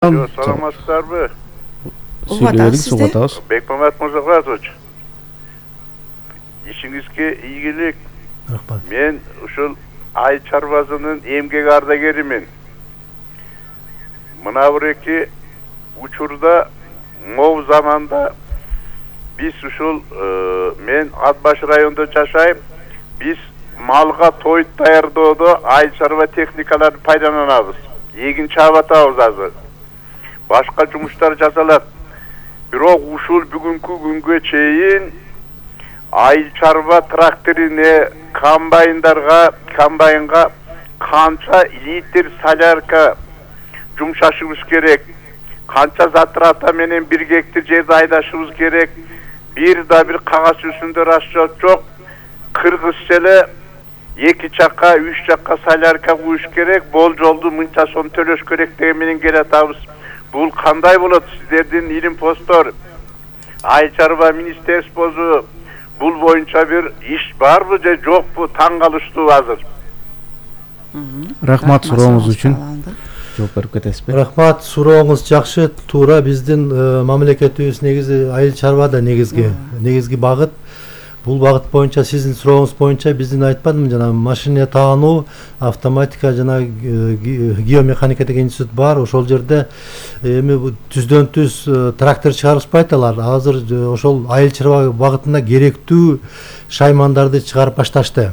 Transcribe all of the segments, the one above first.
Саламатсыздарбы? Сүйлөдүк, сугатабыз. Бекмамат Мырзахметович. Ишиңизге ийгилик. Рахмат. Мен ушул айыл чарбасынын эмгек ардагеримин. Мына бир учурда мов заманда биз ушул мен Атбаш районунда жашайм. Биз малга той даярдоодо айыл чарба техникаларын пайдаланабыз. Эгин чаап атабыз азыр. Башка жумуштар жасалат. Бирок ушул бүгүнкү күнгө чейин айыл чарба тракторине, комбайнга канча литр солярка жумшашыбыз керек, канча затрата менен 1 гектар жерди айдашыбыз керек. Бир кагаз үстүндө расчет жок. Кыргызча эле 2 чакка, 3 чакка солярка куюш керек, болжолду мынча сом төлөш керек деген менен келатабыз. Бул кандай болот? Сиздердин илим посттор, айыл чарба министерствосу бул боюнча бир иш барбы же жокпу? Таң калыштуу азыр. Рахмат сурооңуз үчүн. Жооп берип кетесизби? Рахмат, сурооңуз жакшы, туура. Биздин мамлекетибиз негизи айыл чарбада негизги багыт. Бул багыт боюнча сиздин сурооңуз боюнча биздин айтпадымбы жана машина таануу, автоматика жана геомеханика деген институт бар. Ошол жерде эми түздөн түз трактор чыгарышпайт алар. Азыр ошол айыл чарба багытына керектүү шаймандарды чыгарып башташты.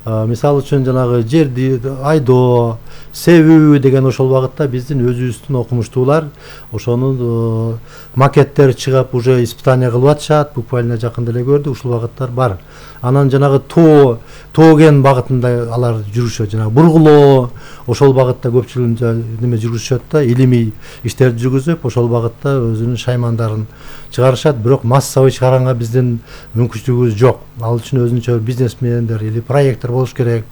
Мисалы үчүн жанагы жерди айдоо, себүү деген ошол багытта биздин өзүбүздүн окумуштуулар ошонун макеттери чыгып уже испытание кылып атышат. Буквально жакында эле көрдүк, ушул багыттар бар. Анан жанагы тооген багытында алар жүрүшөт, жанагы бургулоо ошол багытта көпчүлүгү неме жүргүзүшөт да, илимий иштерди жүргүзүп ошол багытта өзүнүн шаймандарын чыгарышат. Бирок массовый чыгарганга биздин мүмкүнчүлүгүбүз жок. Ал үчүн өзүнчө бизнесмендер или проекттер болуш керек.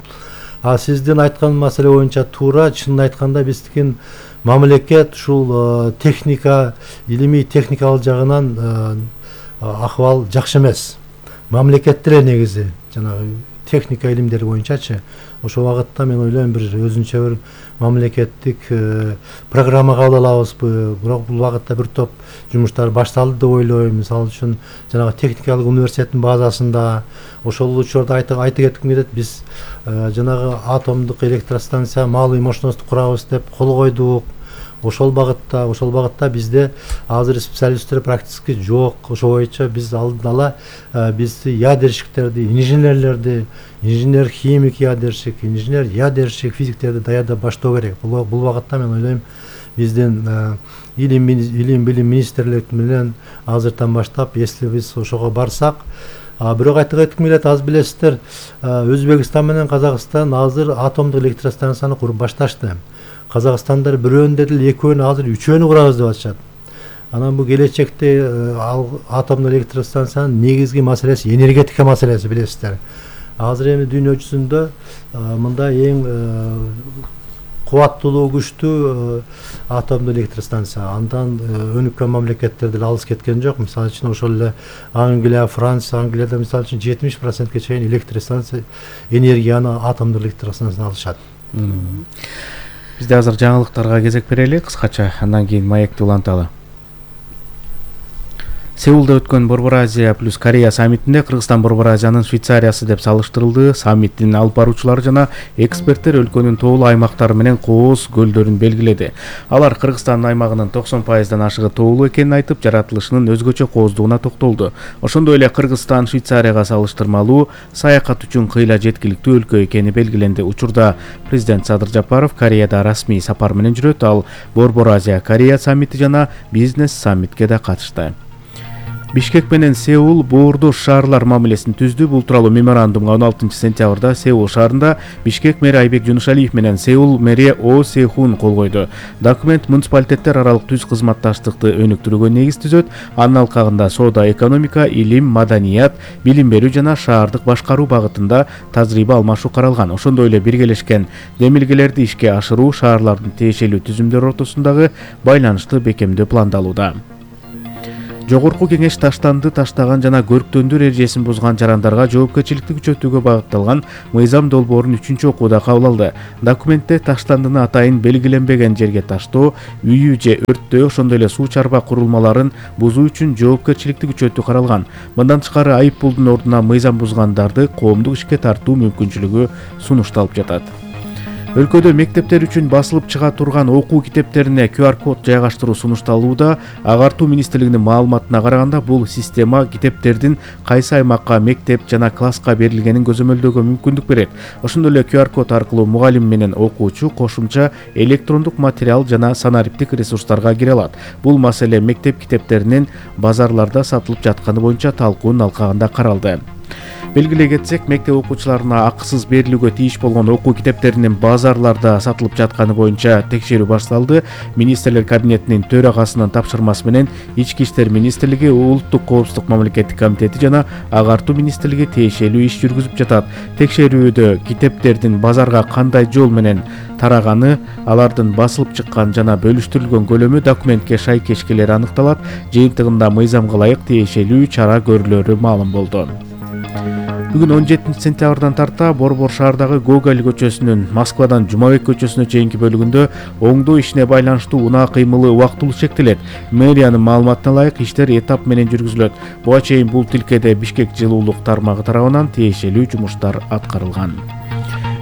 Сиздин айткан маселе боюнча туура. Чынын айтканда биздин мамлекет ушул техника, илимий техникалык жагынан акыбал жакшы эмес. Мамлекетте эле негизи жанагы техника илимдери боюнчачы. Ошол багытта мен ойлойм бир өзүнчө бир мамлекеттик программа кабыл алабызбы. Бирок бул багытта бир топ жумуштар башталды деп ойлойм. Мисалы үчүн жанагы техникалык университеттин базасында ошол учурда айта кетким келет. Биз жанагы атомдук электростанция малый мощность курабыз деп кол койдук. Ошол багытта бизде азыр специалисттер практически жок. Ошол боюнча биз алдын ала бизди ядерщиктерди, инженерлерди, инженер-химик ядерщик, инженер-ядерщик, физиктерди даярдап баштоо керек. Бул багытта мен ойлойм биздин илим билим министрлик менен азыртан баштап, если биз ошого барсак, бирок айта кетким келет, аз билесиздер, Өзбекстан менен Казакстан азыр атомдук электростанцияны куруп башташты. Казакстандар бирөөнү деле, экөөнү, азыр үчөөнү курабыз деп атышат. Анан бул келечекте атомдук электростанциянын негизги маселеси энергетика маселеси, билесиздер. Азыр эми дүйнө жүзүндө мындай эң кубаттуулугу күчтүү атомдук электростанция. Андан өнүккөн мамлекеттер деле алыс кеткен жок. Мисалы үчүн ошол эле Англия, Франция, Англияда мисалы үчүн 70%ке чейин электростанция энергияны атомдук электростанциядан алышат. Бизде азыр жаңылыктарга кезек берели кыскача, андан кийин маекти уланталы. Сеулда өткөн Борбор Азия плюс Корея саммитинде Кыргызстан Борбор Азиянын Швейцариясы деп салыштырылды. Саммиттин алып баруучулары жана эксперттер өлкөнүн тоолуу аймактары менен кооз көлдөрүн белгиледи. Алар Кыргызстандын аймагынын 90%дан ашыгы тоолуу экенин айтып, жаратылышынын өзгөчө кооздугуна токтолду. Ошондой эле Кыргызстан Швейцарияга салыштырмалуу саякат үчүн кыйла жеткиликтүү өлкө экени белгиленди. Учурда президент Садыр Жапаров Кореяда расмий сапар менен жүрөт. Ал Борбор Азия Корея саммити жана бизнес саммитке да катышты. Бишкек менен Сеул боордош шаарлар мамилесин түздү. Бул тууралуу меморандумга 16-сентябрда Сеул шаарында Бишкек мэри Айбек Жунушалиев менен Сеул мэри О Сехун кол койду. Документ муниципалитеттер аралык түз кызматташтыкты өнүктүрүүгө негиз түзөт. Анын алкагында соода, экономика, илим, маданият, билим берүү жана шаардык башкаруу багытында тажрыйба алмашуу каралган. Ошондой эле биргелешкен демилгелерди ишке ашыруу, шаарлардын тиешелүү түзүмдөр ортосундагы байланышты бекемдөө пландалууда. Жогорку кеңеш таштанды таштаган жана көрктөндөр эрежесин бузган жарандарга жоопкерчиликти күчөтүүгө багытталган мыйзам долбоорун 3-окууда кабыл алды. Документте таштандыны атайын белгиленбеген жерге таштоо, үйү же өрттөө, ошондой эле суу чарба курулмаларын бузуу үчүн жоопкерчиликти күчөтүү каралган. Мындан тышкары айып пулдун ордуна мыйзам бузгандарды коомдук ишке тартуу мүмкүнчүлүгү сунушталып жатат. Өлкөдө мектептер үчүн басылып чыга турган окуу китептерине QR-код жайгаштыруу сунушталууда. Агартуу министрлигинин маалыматына караганда, бул система китептердин кайсы аймакка, мектеп жана класска берилгенин көзөмөлдөөгө мүмкүндүк берет. Ошондой эле QR-код аркылуу мугалим менен окуучу кошумча электрондук материал жана санариптик ресурстарга кире алат. Бул маселе мектеп китептеринин базарларда сатылып жатканы боюнча талкуунун алкагында каралды. Белгилей кетсек, мектеп окуучуларына акысыз берилүүгө тийиш болгон окуу китептеринин базарларда сатылып жатканы боюнча текшерүү башталды. Министрлер кабинетинин төрагасынын тапшырмасы менен Ички иштер министрлиги, Улуттук коопсуздук мамлекеттик комитети жана Агартуу министрлиги тиешелүү иш жүргүзүп жатат. Текшерүүдө китептердин базарга кандай жол менен тараганы, алардын басылып чыккан жана бөлүштүрүлгөн көлөмү документке шайкеш келери аныкталат. Жыйынтыгында мыйзамга ылайык тиешелүү чара көрүлөрү маалым болду. Бүгүн 17 сентябрдан тарта Борбор шаардагы Гоголь көчөсүнүн Москвадан Жумабек көчөсүнө чейинки бөлүгүндө оңдоо ишине байланыштуу унаа кыймылы убактылуу чектелет. Мэриянын маалыматына ылайык иштер этап менен жүргүзүлөт. Буга чейин бул тилкеде Бишкек жылуулук тармагы тарабынан тиешелүү жумуштар аткарылган.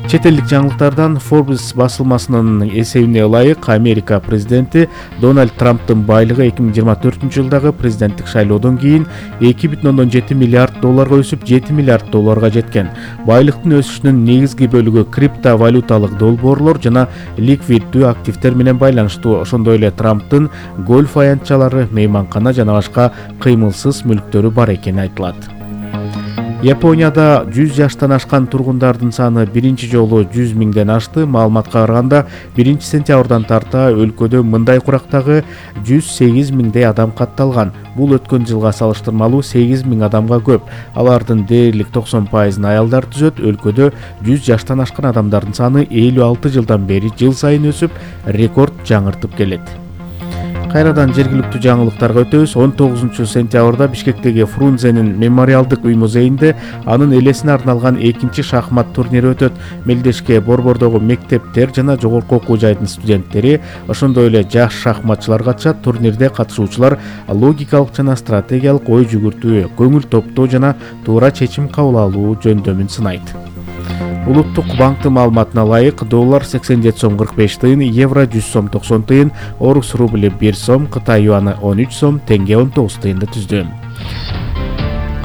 Чет элдик жаңылыктардан Forbes басылмасынын эсебине ылайык, Америка президенти Дональд Трамптын байлыгы 2024 жылдагы президенттик шайлоодон кийин 2,7 миллиард долларга өсүп, 7 миллиард долларга жеткен. Байлыктын өсүшүнүн негизги бөлүгү криптовалюталык долбоорлор жана ликвиддүү активдер менен байланыштуу. Ошондой эле Трамптын гольф аянтчалары, мейманкана жана башка кыймылсыз мүлктөрү бар экени айтылат. Японияда 100 жаштан ашкан тургундардын саны биринчи жолу 100 миңден ашты. Маалыматка караганда, 1 сентябрдан тарта өлкөдө мындай курактагы 108 миңдей адам катталган. Бул өткөн жылга салыштырмалуу 8 миң адамга көп. Алардын дээрлик 90% аялдар түзөт. Өлкөдө 100 жаштан ашкан адамдардын саны 56 жылдан бери жыл сайын өсүп, рекорд жаңыртып келет. Кайрадан жергиликтүү жаңылыктарга өтөбүз. 19 сентябрда Бишкектеги Фрунзенин мемориалдык үй-музейинде анын элесине арналган 2-чи шахмат турнири өтөт. Мелдешке Борбордогу мектептер жана жогорку окуу жайдын студенттери, ошондой эле жаш шахматчылар катышат. Турнирде катышуучулар логикалык жана стратегиялык ой жүгүртүү, көңүл топтоо жана туура чечим кабыл алуу жөндөмүн сынайт. Улуттук банктын маалыматына ылайык, доллар 87 сом 45 тыйын, евро 100 сом 90 тыйын, орус рубли 1 сом, Кытай юаны 13 сом, тенге 19 тыйынды түздү.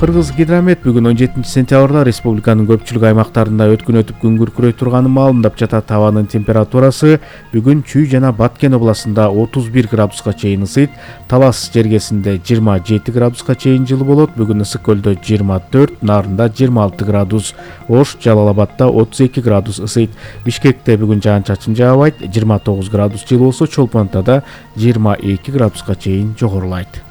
Кыргыз Гидромет бүгүн 17 сентябрда республиканын көпчүлүк аймактарында өткөн өтүп күн күркүрөй турганын маалымдап жатат. Табанын температурасы бүгүн Чүй жана Баткен областында 31 градуска чейин ысыйт. Талас жергесинде 27 градуска чейин жылы болот. Бүгүн Ысык көлдө 24, Нарында 26 градус, Ош, Жалал Абадда 32 градус ысыйт. Бишкекте бүгүн жаан-чачын жаабайт, 29 градус жылы болсо, Чолпонтада 22 градуска чейин жогорулайт.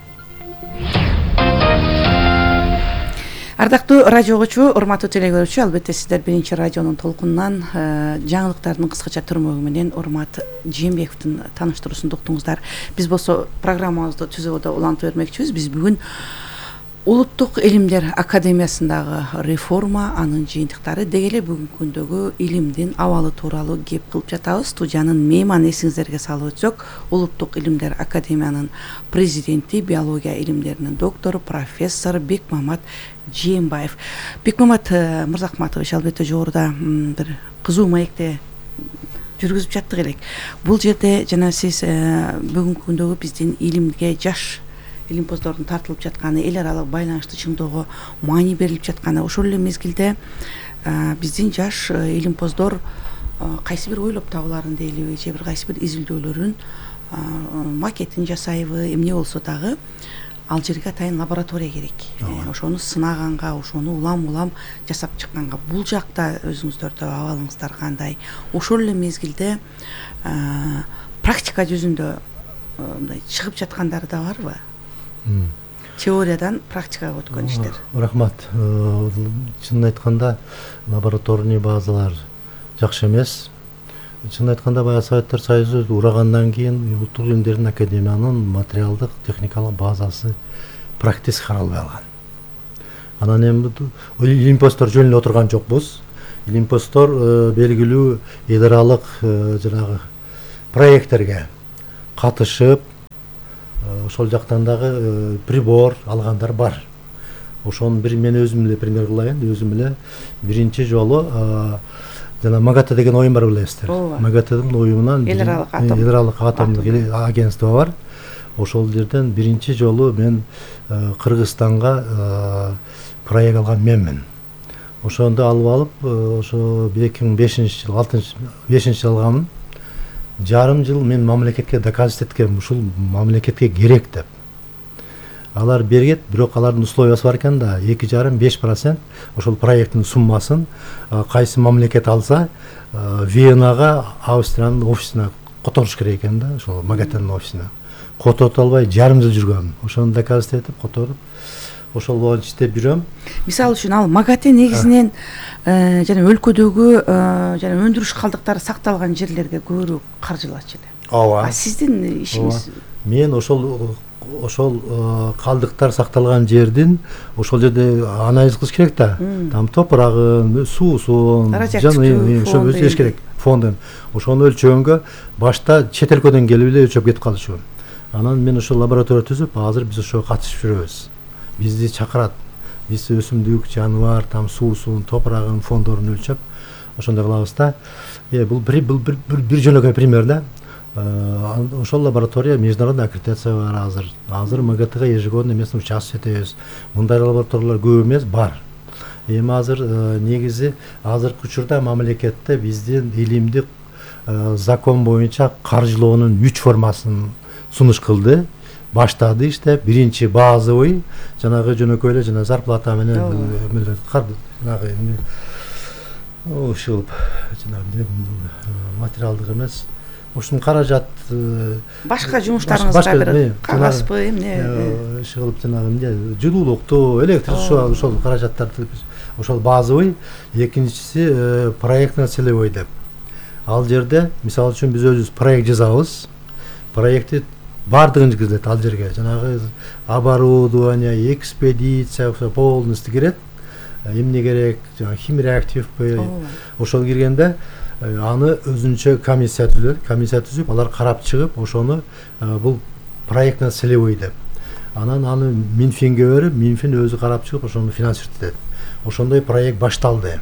Ардактуу радио угуучу, урматтуу телекөрүүчү, албетте сиздер биринчи радионун толкунунан жаңылыктардын кыскача түрмөгү менен Урмат Жээнбековдун тааныштыруусун уктуңуздар. Биз болсо программабызды түзүүгө улантып бермекчибиз. Биз бүгүн Улуттук илимдер академиясындагы реформа, анын жыйынтыктары деги эле бүгүнкү күндөгү илимдин абалы тууралуу кеп кылып жатабыз. Студиянын мейманы эсиңиздерге салып өтсөк, Улуттук илимдер академиянын президенти, биология илимдеринин доктору, профессор Бекмамат Жээнбаев. Бекмамат Мырзахматович, албетте жогоруда бир кызуу маекте жүргүзүп жаттык элек. Бул жерде жана сиз бүгүнкү күндөгү биздин илимге жаш илимпоздордун тартылып жатканы, эл аралык байланышты чыңдоого маани берилип жатканы, ошол эле мезгилде биздин жаш илимпоздор кайсы бир ойлоп табууларын дейлиби, же бир кайсы бир изилдөөлөрүн макетин жасайбы, эмне болсо дагы ал жерге атайын лаборатория керек. Ошону сынаганга, ошону улам жасап чыкканга, бул жакта өзүңүздөрдө абалыңыздар кандай? Ошол эле мезгилде практика жүзүндө мындай чыгып жаткандары да барбы? Теориядан практикага өткөн иштер. Рахмат. Чынын айтканда лабораторный базалар жакшы эмес. Чынын айтканда баягы Советтер Союзу урагандан кийин Улуттук илимдердин академиянын материалдык техникалык базасы практически каралбай калган. Анан эми илимпоздор жөн эле отурган жокпуз. Илимпоздор белгилүү эл аралык жанагы проекттерге катышып, ошол жактан дагы прибор алгандар бар. Ошону мен өзүм эле пример кылайын. Өзүм эле биринчи жолу жана МАГАТЭ деген оюн бар билесиздер. МАГАТЭдин оюнунан эл аралык атомдук агентство бар. Ошол жерден биринчи жолу мен Кыргызстанга проект алган менмин. Ошондо алып ошо 2005 жыл алганмын. Жарым жыл мен мамлекетке доказать эткем, ушул мамлекетке керек деп. Алар бергет, бирок алардын условиясы бар экен да, 2,5% ошол проекттин суммасын кайсы мамлекет алса, Венага, Австриянын офисине которуш керек экен да, ошол МАГАТЭнин офисине. Которуп албай жарым жыл жүргөм. Ошону доказать этип, которуп, ошол боюнча иштеп жүрөм. Мисалы үчүн ал МАГАТЭ негизинен жана өлкөдөгү жана өндүрүш калдыктары сакталган жерлерге көбүрөөк каржылачу эле. Ооба. Сиздин ишиңиз? Мен ошол калдыктар сакталган жердин ошол жерде анализ кылыш керек да. Там топурагын, суусун, ошо өзү керек фондун. Ошону өлчөгөнгө башта чет өлкөдөн келип эле өлчөп кетип калышуу. Анан мен ошол лаборатория түзүп, азыр биз ошого катышып жүрөбүз. Бизди чакырат. Биз өсүмдүк, жаныбар, там суусун, топурагын, фондорун өлчөп, ошондой кылабыз да. Бул бир жөнөкөй пример да. Ошол лаборатория международный аккредитация бар азыр. Азыр МАГАТЭга ежегодно эмесин участвовать этебиз. Мындай лабораториялар көп эмес, бар. Эми азыр негизи азыркы учурда мамлекетте биздин илимдик закон боюнча каржылоонун 3 формасын сунуш кылды. Баштады иштеп, биринчи базовый, жанагы жөнөкөй эле жана зарплата менен жанагы ушул жанагы материалдык эмес. Ушун каражат башка жумуштарыңызга бир кагазбы эмне иш кылып жанагы эмне жылуулукту, электр ошол каражаттарды ошол базовый, экинчиси проектный целевой деп. Ал жерде мисалы үчүн биз өзүбүз проект жазабыз. Проектти бардыгын киргизет ал жерге. Жанагы оборудование, экспедиция полностью кирет. Эмне керек, жанагы химреактивпи, ошол киргенде аны өзүнчө комиссия түзөт. Комиссия түзүп, алар карап чыгып, ошону бул проектный целевой деп. Анан аны Минфинге берип, Минфин өзү карап чыгып, ошону финансировать этет. Ошондой проект башталды.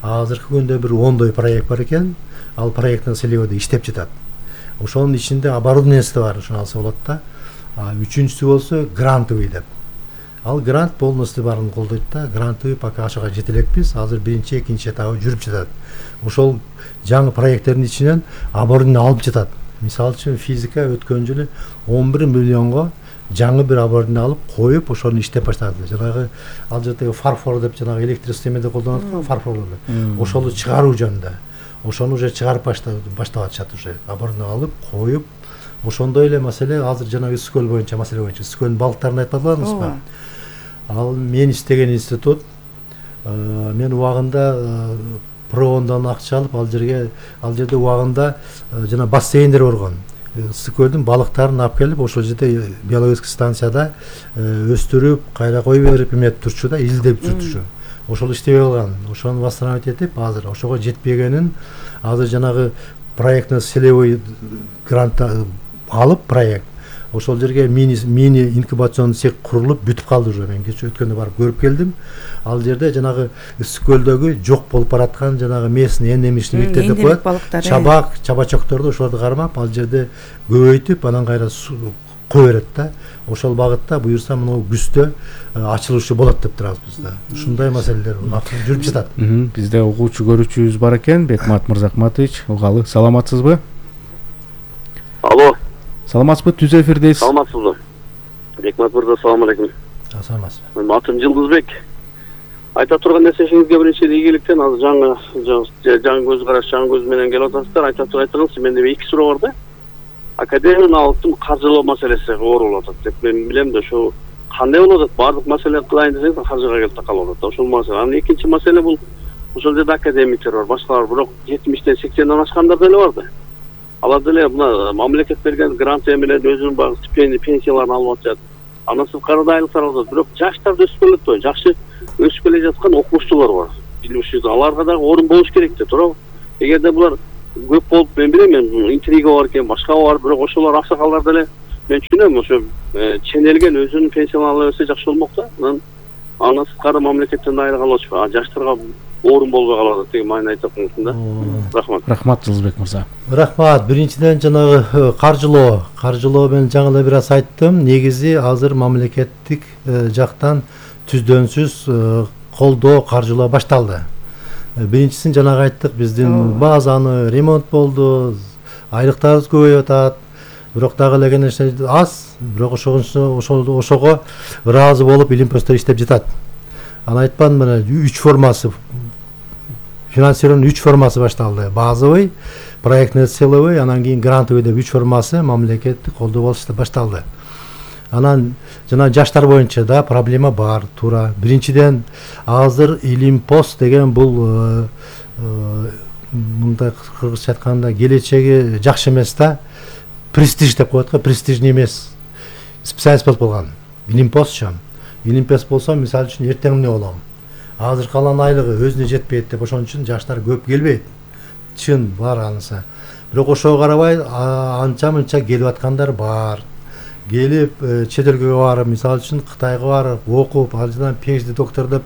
Азыркы күндө бир 10 проект бар экен. Ал проектный целевойдо иштеп жатат. Ошонун ичинде оборудованиясы бар, ошону алса болот да. Үчүнчүсү болсо грантовый деп. Ал грант полностью барын колдойт да. Грантовый пока ошого жете элекпиз. Азыр биринчи, экинчи этабы жүрүп жатат. Ошол жаңы проекттердин ичинен оборудование алып жатат. Мисалы үчүн физика өткөн жылы 11 миллионго жаңы бир оборудование алып коюп, ошону иштеп баштады. Жанагы ал жердеги фарфор деп жанагы электросистемада колдонот го фарфорлорду. Ошону чыгаруу жөнүндө. Ошону уже чыгарып баштап атышат уже. Оборудование алып коюп, ошондой эле маселе азыр жанагы Скөл боюнча маселе боюнча Скөлдүн балыктарын айтып атпадыңызбы? Ал мен иштеген институт, мен убагында проондан акча алып ал жерде убагында жана бассейндер болгон. Скөлдүн балыктарын алып келип, ошол жерде биологический станцияда өстүрүп, кайра коюп берип эмет турчу да, илдеп жүрчү. Ошол иштебей калган. Ошону восстановить этип, азыр ошого жетпегенин азыр жанагы проектный целевой грант алып проект. Ошол жерге мини инкубационный цех курулуп бүтүп калды уже. Мен кечээ өткөндө барып көрүп келдим. Ал жерде жанагы Скөлдөгү жок болуп бараткан жанагы местный эндемичный виддер деп коет. Чабак, чабачокторду ошолорду кармап, ал жерде көбөйтүп, анан кайра кое берет да. Ошол багытта буюрса мына күздө ачылышы болот деп турабыз биз да. Ушундай маселелер жүрүп жатат. Бизде угуучу көрүүчүбүз бар экен, Бекмат Мырзакматович. Угалы, саламатсызбы? Алло. Саламатсызбы? Түз эфирдесиз. Саламатсызбы? Бекмат мырза, салам алейкум. Саламатсызбы. Менин атым Жылдызбек. Айта турган нерсеңизге биринчи ийгиликтен азыр жаңы көз караш, жаңы көз менен келип атасыздар. Айта турган менде 2 суроо бар да. Академиянын алыптын каржылоо маселеси оор болуп атат деп мен билем да, ошо кандай болуп атат? Бардык маселе кылайын десеңиз каржыга келип такалып атат. Ошол маселе. Анан экинчи маселе бул ошол жерде академиктер бар, башкалар, бирок 70-тен 80ден ашкандар деле бар да. Алар деле мына мамлекет берген грант менен өзүнүн багы стипендия, пенсияларын алып атышат. анан сырткары айлыктар алат. Бирок жаштарды өсүп келет, жакшы өсүп келе жаткан окумуштуулар бар. Билимчилер, аларга дагы орун болуш керек да, туурабы? Эгерде булар көп болуп, мен билем, интрига бар экен, башка бар, бирок ошолор аксакалдар деле мен түшүнөм, ошо ченелген өзүнүн пенсияны ала берсе жакшы болмок да. Анан сырткары мамлекеттен айрылган болчу. Жаштарга орун болбой калат деген маани айтып атам да. Рахмат. Рахмат Жылысбек мырза. Рахмат. Биринчиден жанагы каржылоо мен жаңы эле бир аз айттым. Негизи азыр мамлекеттик жактан түздөнсүз колдоо, каржылоо башталды. Биринчисин жанагы айттык, биздин базаны ремонт болду, айлыктарыбыз көбөйүп атат. Бирок дагы эле конечно аз, бирок ошого ыраазы болуп илимпостор иштеп жатат. Анан айтпадым, мына 3 формасы, финансированиянын 3 формасы башталды. Базовый, проектный целевой, анан кийин грантовый деп 3 формасы мамлекеттик колдоо болуп башталды. Анан жана жаштар боюнча да проблема бар, туура. Биринчиден азыр илимпост деген бул мындай кыргызча айтканда келечеги жакшы эмес да. Престиж деп коет го, престижный эмес. Специалист болуп калган. Илимпостчу. Илимпост болсо, мисалы үчүн эртең эмне болом? Азыр калган айлыгы өзүнө жетпейт деп ошон үчүн жаштар көп келбейт. Чын бар анысы. Бирок ошого карабай анча-мынча келип аткандар бар. Келип чет элге барып, мисалы үчүн Кытайга барып, окуп, ал жерден PhD доктор деп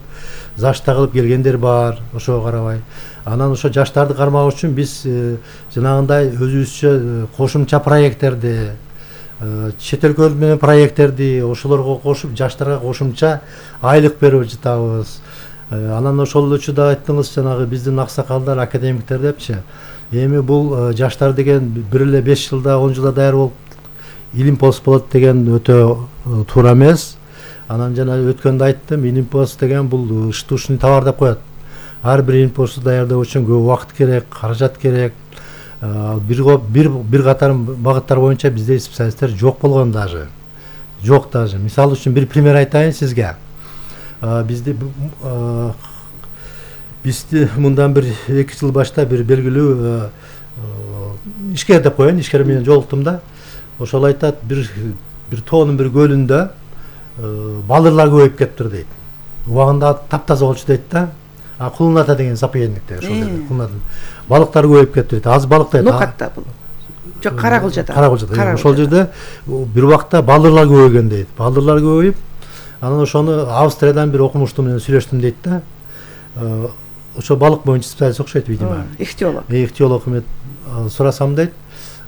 зашта кылып келгендер бар, ошого карабай. Анан ошо жаштарды кармак үчүн биз жанагындай өзүбүзчө кошумча проекттерди, чет өлкө менен проекттерди ошолорго кошуп, жаштарга кошумча айлык берип жатабыз. Анан ошол үчүн да айттыңыз, жанагы биздин аксакалдар, академиктер депчи. Эми бул жаштар деген бир эле 5 жылда, 10 жылда даяр болуп илимпост болот деген өтө туура эмес. Анан жана өткөндө айттым, илимпост деген бул штучный товар деп коет. Ар бир илимпосту даярдоо үчүн көп убакыт керек, каражат керек. Бир катар багыттар боюнча бизде специалисттер жок болгон даже. Жок даже. Мисалы үчүн бир пример айтайын сизге. Бизде мындан бир 2 жыл башта бир белгилүү ишкер деп коеюн, ишкер менен жолуктум да. Ошол айтат, бир тоонун бир көлүндө балырлар көбөйүп кетиптир дейт. Убагында таптаза болчу дейт да. Кулната деген заповедникте ошол жерде кулната. Балыктар көбөйүп кетти дейт. Аз балык дейт. Нокатта бул. Жок, Каракылжада. Каракылжада. Ошол жерде бир убакта балырлар көбөйгөн дейт. Балырлар көбөйүп, анан ошону Австриядан бир окумуштуу менен сүйлөштүм дейт да. Ошо балык боюнча специалист окшойт, видимо. Ихтиолог эме сурасам дейт.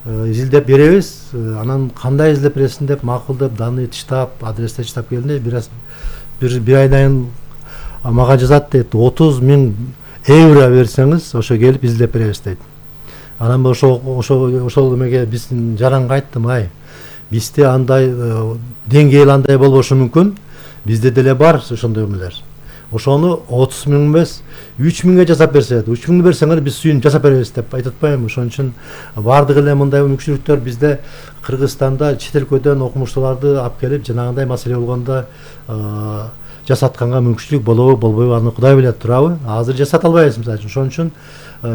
Изилдеп беребиз, анан кандай изилдеп бересиң деп макулдап, даны тыштап, адресте тыштап келди. Бир айдан мага жазат дейт, 30 000 евро берсеңиз, ошо келип изилдеп беребиз дейт. Анан ошол эмеге биздин жаранга айттым, ай, бизде андай деңгээл андай болбошу мүмкүн, бизде деле бар ошондой эмелер. Ошону 30 000 эмес, 3 000ге жасап берсе, 3 000 берсеңер биз сүйүн жасап беребиз деп айтып атпаймынбы? Ошон үчүн бардык эле мындай мүмкүнчүлүктөр бизде Кыргызстанда чет өлкөдөн окумуштууларды алып келип, жанагындай маселе болгондо жасатканга мүмкүнчүлүк болобу, болбойбу, аны Кудай билет, туурабы? Азыр жасата албайбыз мисалы үчүн. Ошон үчүн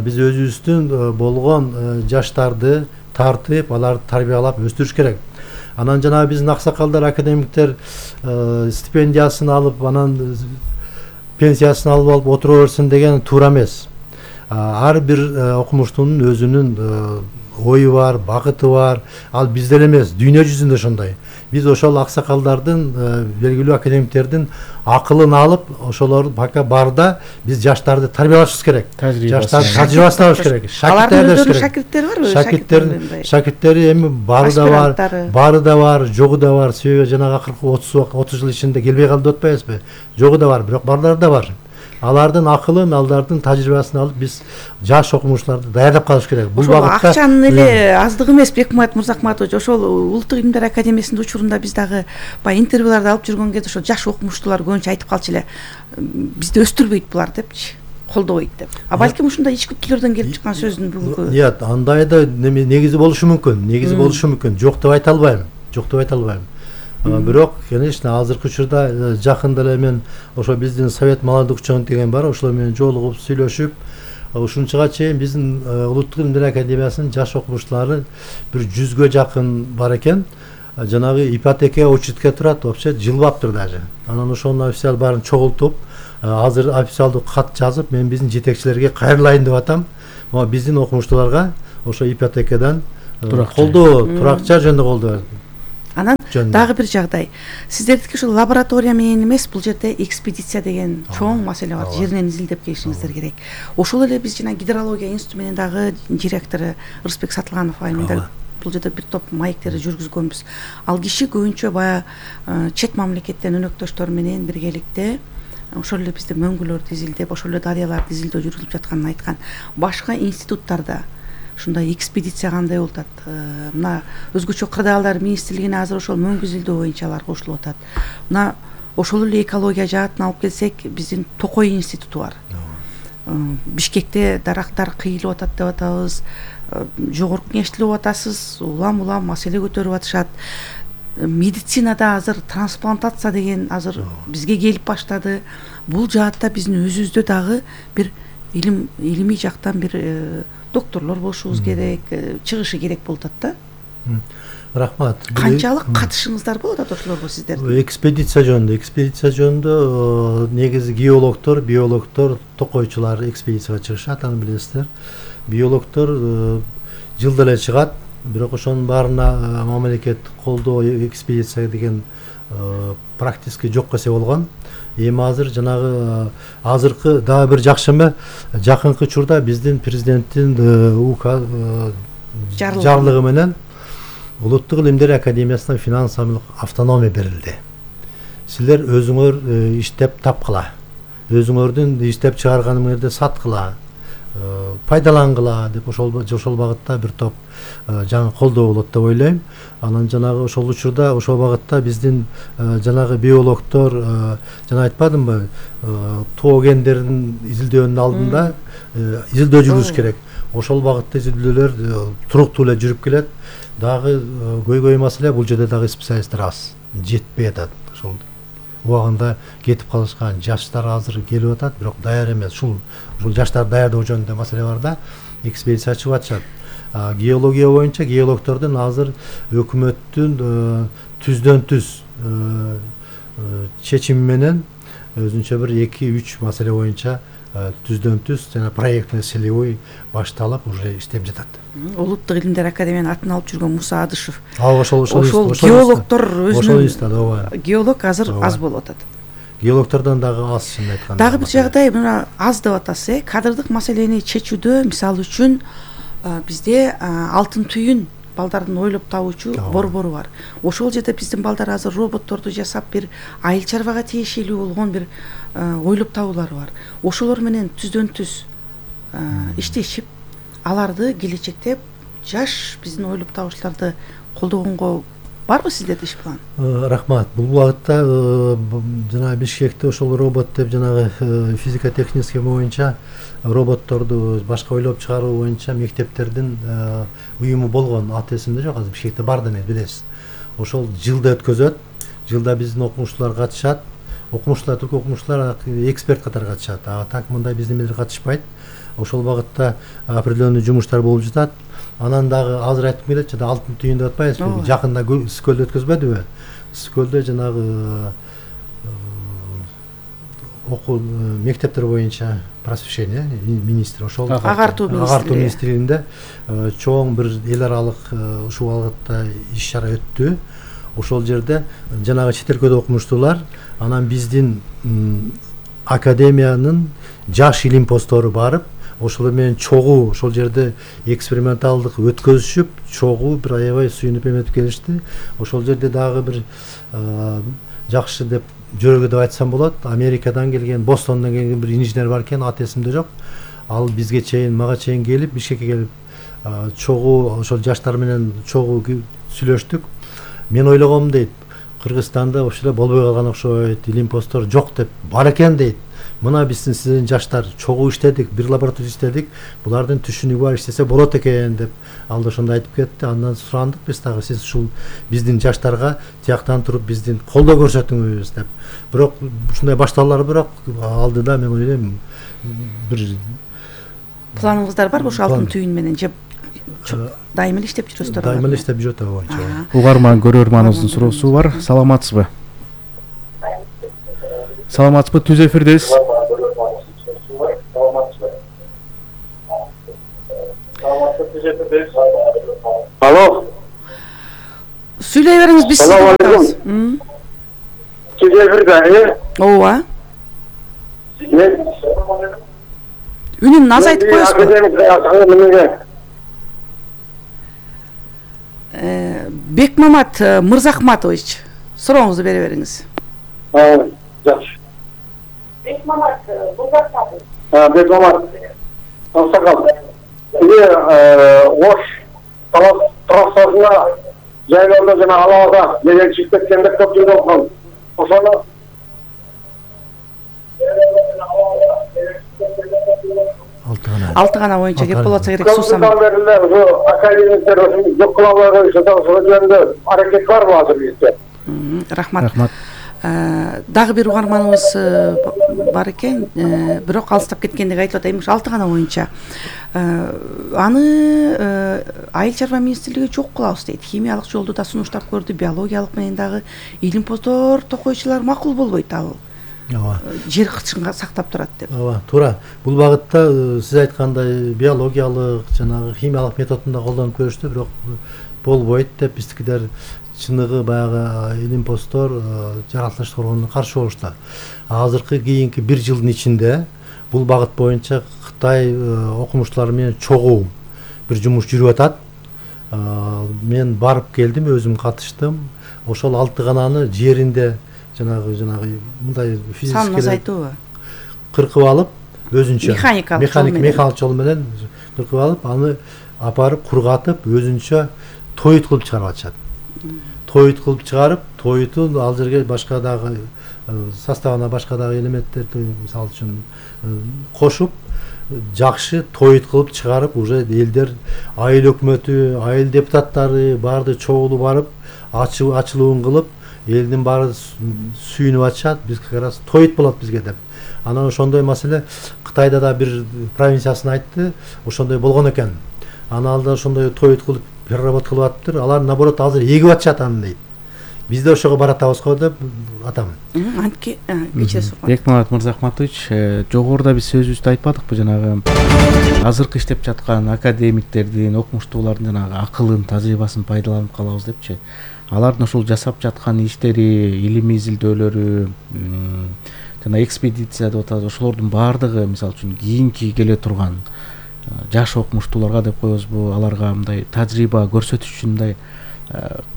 биз өзүбүздүн болгон жаштарды тартып, аларды тарбиялап өстүрүш керек. Анан жана биздин аксакалдар, академиктер стипендиясын алып, анан пенсиясын алып отура берсин деген туура эмес. Ар бир окумуштуунун өзүнүн ою бар, багыты бар. Ал бизде эмес, дүйнө жүзүндө ошондой. Биз ошол аксакалдардын, белгилүү академиктердин акылын алып, ошолор пока барда биз жаштарды тарбиялашыбыз керек. Жаштар тажрыйбасын алыш керек. Шакирттер барбы? Шакирттери эми бары да бар, жогу да бар. Себеби жанагы акыркы 30 жыл ичинде келбей калды деп атпайбызбы? Жогу да бар, бирок барлары да бар. Алардын акылын, алардын тажрыйбасын алып биз жаш окумуштууларды даярдап калыш керек. Бул багытта акчанын эле аздыгы эмес, Бекмамбет Мырзахматович, ошол Улуттук илимдер академиясынын учурунда биз дагы баягы интервьюларды алып жүргөн кезде ошо жаш окумуштуулар көбүнчө айтып калчу эле, бизди өстүрбөйт булар депчи, колдобойт деп. Балким ушундай ичкиликтерден келип чыккан сөздүн бүгүнкү. Нет, андай да негизи болушу мүмкүн. Жок деп айта албайм. Бирок, конечно, азыркы учурда жакында эле мен ошо биздин Совет молодых ученых деген бар, ошолор менен жолугуп сүйлөшүп, ушунчага чейин биздин Улуттук илимдер академиясынын жаш окумуштуулары бир 100ге жакын бар экен. жанагы ипотека учетке турат, вообще жылбаптыр даже. Анан ошонун официал баарын чогултуп, азыр официалдуу кат жазып, мен биздин жетекчилерге кайрылайын деп атам. Могу биздин окумуштууларга ошо ипотекадан колдоо, туракча жөнүндө колдоо. Анан дагы бир жагдай. Сиздердики ушул лаборатория менен эмес, бул жерде экспедиция деген чоң маселе бар. Жеринен изилдеп келишиңиздер керек. Ошол эле биз жана гидрология институту менен дагы директору Рысбек Сатылганов айында бул жерде бир топ маектерди жүргүзгөнбүз. Ал киши көбүнчө бая чет мамлекеттен өнөктөштөр менен биргеликте ошол эле бизде мөңгүлөрдү изилдеп, ошол эле дарыяларды изилдөө жүргүзүлүп жатканын айткан. Башка институттарда ушундай экспедиция кандай болуп атат? Мына өзгөчө кырдаалдар министрлигине азыр ошол мөңгү изилдөө боюнча алар кошулуп атат. Мына ошол эле экология жаатын алып келсек, биздин Токой институту бар. Бишкекте дарактар кыйылып атат деп атабыз. Жогорку кеңеште атасыз, улам маселе көтөрүп атышат. Медицинада азыр трансплантация деген азыр бизге келип баштады. Бул жаатта биздин өзүбүздө дагы бир илимий жактан бир докторлор болушубуз керек, чыгышы керек болуп атат да. Рахмат. Канчалык катышыңыздар болот атат ошолорго сиздердин? Экспедиция жөнүндө негизи геологдор, биологдор, токойчулар экспедицияга чыгышат, аны билесиздер. Биологдор жылда эле чыгат, бирок ошонун баарына мамлекет колдоо экспедиция деген практически жок эсе болгон. Эми азыр жанагы азыркы дагы бир жакшы эме, жакынкы учурда биздин президенттин жарлыгы менен Улуттук илимдер академиясына финансылык автономия берилди. Силер өзүңөр иштеп тапкыла, өзүңөрдүн иштеп чыгарганыңарды саткыла, пайдалангыла деп ошол багытта бир топ жаңы колдоо болот деп ойлойм. Анан жанагы ошол учурда ошол багытта биздин жанагы биологдор жана айтпадымбы, тоо гендерин изилдөөнүн алдында изилдөө жүргүзүш керек. Ошол багытта изилдөөлөр туруктуу эле жүрүп келет. Дагы көйгөй маселе бул жерде дагы специалисттер аз, жетпей атат. Ошол убагында кетип калышкан жаштар азыр келип атат, бирок даяр эмес. Ушул жаштар даярдоо жөнүндө маселе бар да, экспедиция чыгып атышат. Геология боюнча геологдордун азыр өкмөттүн түздөн түз чечими менен өзүнчө бир 2-3 маселе боюнча түздөн түз жана проектный целевой башталып уже иштеп жатат. Улуттук илимдер академиянын атын алып жүргөн Муса Адышев. Ошол геологдор өзүнүн геолог азыр аз болуп атат. Геологдордон дагы аз, чын айтканда. Дагы бир жагдай, мына аз деп атасыз, кадрлык маселени чечүүдө, мисалы үчүн бизде алтын түйүн балдардын ойлоп табуучу борбору бар. Ошол жерде биздин балдар азыр роботторду жасап бир айыл чарбага тиешелүү болгон бир ойлоп табуулары бар. Ошолор менен түздөн түз иштешип, аларды келечекте жаш биздин ойлоп табуучуларды колдогонго барбы сиздерде иш план? Рахмат. Бул багытта жана Бишкекте ошол робот деп жанагы физико-технический боюнча роботторду башка ойлоп чыгаруу боюнча мектептердин уюму болгон. Аты эсимде жок, азыр Бишкекте бар демек, билесиз. Ошол жылда өткөзөт. Жылда биздин окумуштуулар катышат. Окумуштуулар, түрк окумуштуулар эксперт катары катышат. Так мындай биздин менен катышпайт. Ошол багытта определенный жумуштар болуп жатат. Анан дагы азыр айтып келет, жана алтын түйүн деп атпайбызбы? Жакында Скөлдө өткөзбөдүбү? Скөлдө жанагы окуу мектептер боюнча просвещение министри ошол агартуу министрлигинде чоң бир эл аралык ушул багытта иш чара өттү. Ошол жерде жанагы чет өлкөдө окумуштуулар, анан биздин академиянын жаш илим посттору барып, ошол менен чогуу ошол жерде эксперименталдык өткөзүшүп, чогуу бир аябай сүйүнүп эметип келишти. Ошол жерде дагы бир жакшы деп жөрөгө деп айтсам болот. Америкадан келген, Бостондон келген бир инженер бар экен, аты эсимде жок. Ал бизге чейин, мага чейин келип, Бишкекке келип, чогуу ошол жаштар менен чогуу сүйлөштүк. Мен ойлогом дейт, Кыргызстанда ошол эле болбой калган окшойт, илим посттор жок деп бар экен дейт. Мына биздин сиздин жаштар чогуу иштедик, бир лаборатория иштедик, булардын түшүнүгү бар, иштесе болот экен деп ал да ошондой айтып кетти. Андан сурандык биз дагы, сиз ушул биздин жаштарга тияктан туруп биздин колдоо көрсөтүңүз деп. Бирок ушундай башталуулар бирок алдыда мен ойлойм бир планыңыздар барбы ошо алтын түйүн менен же дайыма эле иштеп жүрөсүздөр. Дайыма эле иштеп жүрөт ага боюнча. Угарман көрөрманыбыздын суроосу бар. Саламатсызбы? Саламатсызбы? Түз эфирдесиз. Алло. Сүйлөй бериңиз, биз сизди угабыз. Түз эфирде, Ооба. Үнүн азайтып коесузбу? Бекмамат Мырзахматович, сурооңузду бере бериңиз. Жакшы. Бекмамат Мырзахматович. Бекмамат. Аксакал. Ош трассасына жайларда жана алабада менен чыгып кеткенде көп жыл болгон. Ошону алты гана боюнча кеп болот керек суусам. Академиктер жок кыла албай коюшат, ошол жөнүндө аракет барбы азыр бизде? Рахмат. Дагы бир угарманыбыз бар экен, бирок алыстап кеткендиги айтып атайын. 6 гана боюнча аны Айыл чарба министрлиги жок кылабыз дейт. Химиялык жолду да сунуштап көрдү, биологиялык менен дагы илимпоздор токойчулар макул болбойт ал. Жер кычынга сактап турат деп. Ооба, туура. Бул багытта сиз айткандай биологиялык жанагы химиялык методун да колдонуп көрүштү, бирок болбойт деп биздикилер чыныгы баягы илимпоздор жаратылыш коргоонуна каршы болушту. Азыркы кийинки 1 жылдын ичинде бул багыт боюнча Кытай окумуштуулары менен чогуу бир жумуш жүрүп атат. Мен барып келдим, өзүм катыштым. Ошол 6 гананы жеринде жанагы мындай физикалык азайтуу кыркып алып, өзүнчө механик жол менен кыркып алып, аны апарып кургатып, өзүнчө тоют кылып чыгарып атышат. Тоют кылып чыгарып, тоютун ал жерге башка дагы составына башка дагы элементтерди, мисалы үчүн кошуп, жакшы тоют кылып чыгарып, уже элдер, айыл өкмөтү, айыл депутаттары баарды чогулуп барып, ачылуун кылып, элдин баары сүйүнүп атышат. Биз как раз тоют болот бизге деп. Анан ошондой маселе Кытайда да бир провинциясын айтты, ошондой болгон экен. Анан алда ошондой тоют кылып переработка кылып атыптыр. Алар наоборот азыр эгип атышат аны дейт. Бизде ошого баратабыз го деп атам. Антке кечиресиз. Бекмамат Мырзахматович, жогоруда биз сөзүбүздү айтпадыкпы, жанагы азыркы иштеп жаткан академиктердин, окумуштуулардын жанагы акылын, тажрыйбасын пайдаланып калабыз депчи. Алардын ошол жасап жаткан иштери, илимий изилдөөлөрү, жана экспедиция деп атабыз, ошолордун баардыгы, мисалы үчүн кийинки келе турган жаш окумуштууларга деп коебузбу, аларга мындай тажрыйба көрсөтүш үчүн мындай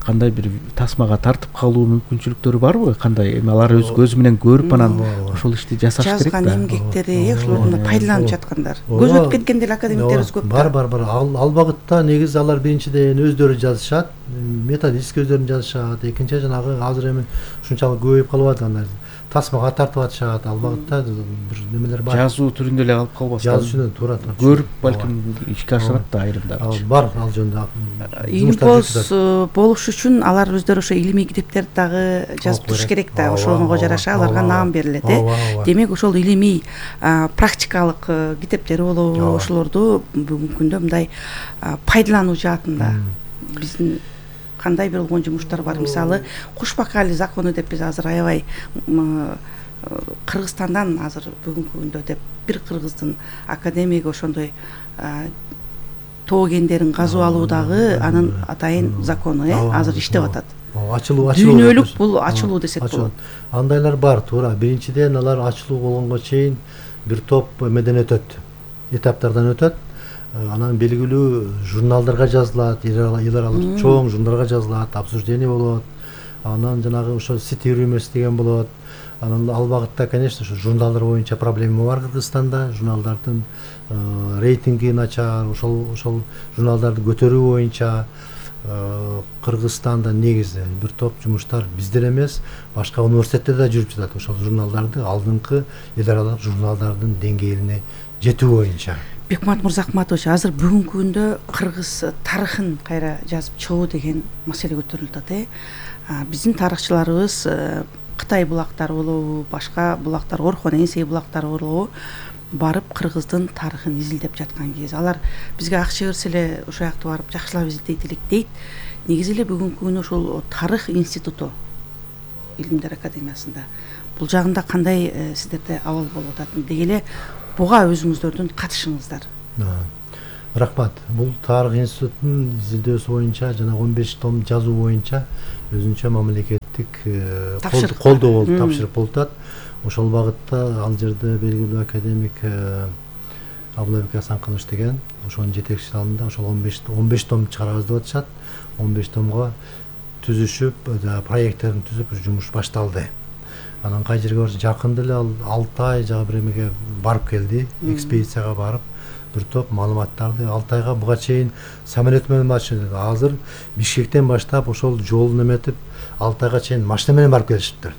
кандай бир тасмага тартып калуу мүмкүнчүлүктөрү барбы? Кандай? Эми алар өз көзү менен көрүп анан ошол ишти жасаш керек да. Жазган эмгектери, ошолорду пайдаланып жаткандар. Көзөтүп кеткен деле академиктерибиз көп. Бар. Ал багытта негизи алар биринчиден өздөрү жазышат, методический өздөрү жазышат. Экинчи жанагы азыр эми ушунчалык көбөйүп калып атат, андай тасмага тартып атышат. Ал багытта бир немелер бар. Жазуу түрүндө эле калып калбас. Жазуучу туура. Көрүп балким ишке ашырат да айрымдар. Бар ал жөнүндө. Илимпоз болуш үчүн алар өздөрү ошо илимий китептерди дагы жазып туруш керек да. Ошого жараша аларга наам берилет. Демек ошол илимий практикалык китептери болобу, ошолорду бүгүнкү күндө мындай пайдалануу жаатында биздин кандай бир болгон жумуштар бар. Мисалы, Кушбакали закону деп биз азыр аябай Кыргызстандан азыр бүгүнкү күндө деп бир кыргыздын академиги ошондой тоо кендерин казып алуудагы анын атайын закону азыр иштеп атат. Ачылуу. Дүйнөлүк бул ачылуу десек болот. Андайлар бар, туура. Биринчиден алар ачылуу болгонго чейин бир топ эмеден өтөт. Этаптардан өтөт. Анан белгилүү журналдарга жазылат, эл аралык чоң журналдарга жазылат, обсуждение болот. Анан жанагы ошо цитируемость деген болот. Анан ал багытта, конечно, ошо журналдар боюнча проблема бар Кыргызстанда. Журналдардын рейтинги начар, ошол журналдарды көтөрүү боюнча Кыргызстанда негизи бир топ жумуштар бизден эмес, башка университеттерде да жүрүп жатат. Ошол журналдарды алдыңкы эл аралык журналдардын деңгээлине жетүү боюнча. Бекмамат Мырзахматович, азыр бүгүнкү күндө кыргыз тарыхын кайра жазып чыгуу деген маселе көтөрүлүп атат. Биздин тарыхчыларыбыз Кытай булактары болобу, башка булактар, Орхон Энсей булактары болобу, барып кыргыздын тарыхын изилдеп жаткан кез. Алар бизге акча берсе эле ошол жакта барып жакшылап изилдейт элек дейт. Негизи эле бүгүнкү күнү ошол тарых институту Илимдер академиясында бул жагында кандай сиздерде абал болуп атат деги эле буга өзүңүздөрдүн катышыңыздар. Рахмат. Бул тарых институтунун изилдөөсү боюнча жана 15 том жазуу боюнча өзүнчө мамлекеттик колдоо болуп тапшырып болуп атат. Ошол багытта ал жерде белгилүү академик Абылайбек Асанканович деген ошонун жетекчилик алында ошол 15 том чыгарабыз деп атышат. 15 томго түзүшүп, проекттерин түзүп жумуш башталды. Анан кай жерге барса жакында эле ал Алтай жагы бир эмеге барып келди, экспедицияга барып бир топ маалыматтарды Алтайга буга чейин самолет менен барышты. Азыр Бишкектен баштап ошол жолун эметип Алтайга чейин машина менен барып келишиптир.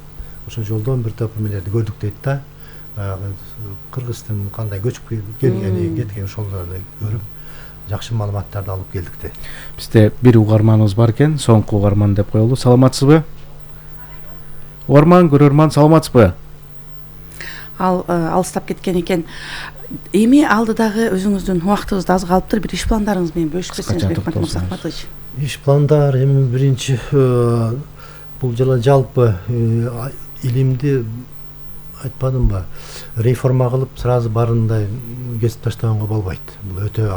Ошол жолдон бир топ эмелерди көрдүк дейт да. Баягы Кыргыздын кандай көчүп келгени, кеткен ошолорду көрүп жакшы маалыматтарды алып келдик да. Бизде бир угарманыбыз бар экен, соңку угарман деп коелу. Саламатсызбы? Угарман, көрөрман, саламатсызбы? Ал алыстап кеткен экен. Эми алдыдагы өзүңүздүн убактыбызда аз калыптыр, бир иш пландарыңыз менен бөлүшүп кетсеңиз Бекмат Мырзахматович. Иш пландар эми биринчи бул жала жалпы илимди айтпадымбы, реформа кылып сразу барындай кесип таштаганга болбойт. Бул өтө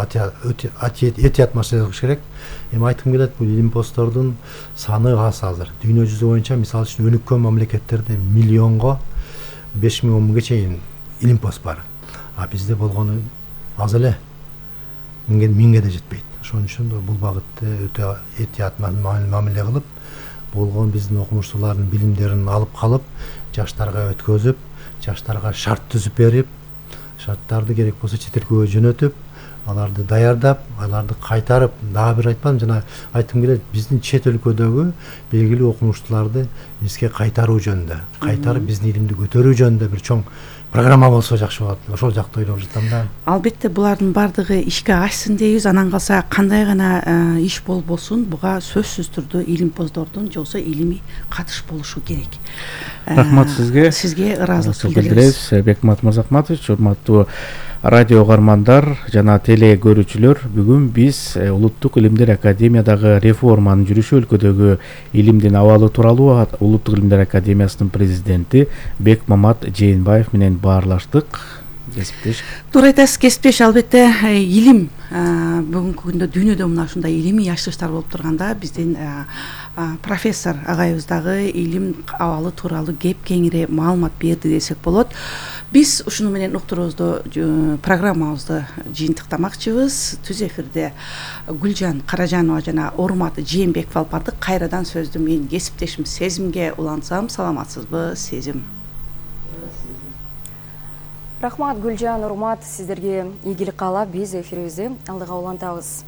этият маселе кылыш керек. Эми айткым келет, бул илимпоздордун саны аз азыр. Дүйнө жүзү боюнча мисалы үчүн өнүккөн мамлекеттерде миллионго 5000 миңге чейин илимпост бар. А бизде болгону аз эле, миңге да жетпейт. Ошон үчүн бул багытта өтө этият мамиле кылып, болгон биздин окумуштуулардын билимдерин алып калып, жаштарга өткөзүп, жаштарга шарт түзүп берип, шарттарды керек болсо чет элге жөнөтүп, аларды даярдап, аларды кайтарып, дагы бир айтпадым, жана айткым келет, биздин чет өлкөдөгү белгилүү окумуштууларды бизге кайтаруу жөнүндө, кайтарып биздин илимди көтөрүү жөнүндө бир чоң программа болсо жакшы болот. Ошол жакты ойлоп жатам да. Албетте булардын баардыгы ишке ашсын дейбиз. Анан калса кандай гана иш болбосун, буга сөзсүз түрдө илимпоздордун же болбосо илимий катыш болушу керек. Рахмат сизге. Сизге ыраазычылык билдиребиз. Бекмат Мырзахматович, урматтуу радио угармандар жана теле көрүүчүлөр, бүгүн биз Улуттук Илимдер Академиядагы реформанын жүрүшү, өлкөдөгү илимдин абалы тууралуу Улуттук Илимдер Академиясынын президенти Бекмамат Жээнбаев менен баарлаштык. Кесиптеш. Туура айтасыз, кесиптеш. Албетте илим бүгүнкү күндө дүйнөдө мына ушундай илимий ачылыштар болуп турганда биздин профессор агайыбыз дагы илим абалы тууралуу кеп кеңири маалымат берди десек болот. Биз ушуну менен уктуруубузду, программабызды жыйынтыктамакчыбыз. Түз эфирде Гүлжан Каражанова жана Урмат Жээнбеков алып бардык. Кайрадан сөздү мен кесиптешим Сезимге улантсам, саламатсызбы, Сезим? Рахмат, Гүлжан, Урмат, сиздерге ийгилик каалап биз эфирибизди алдыга улантабыз.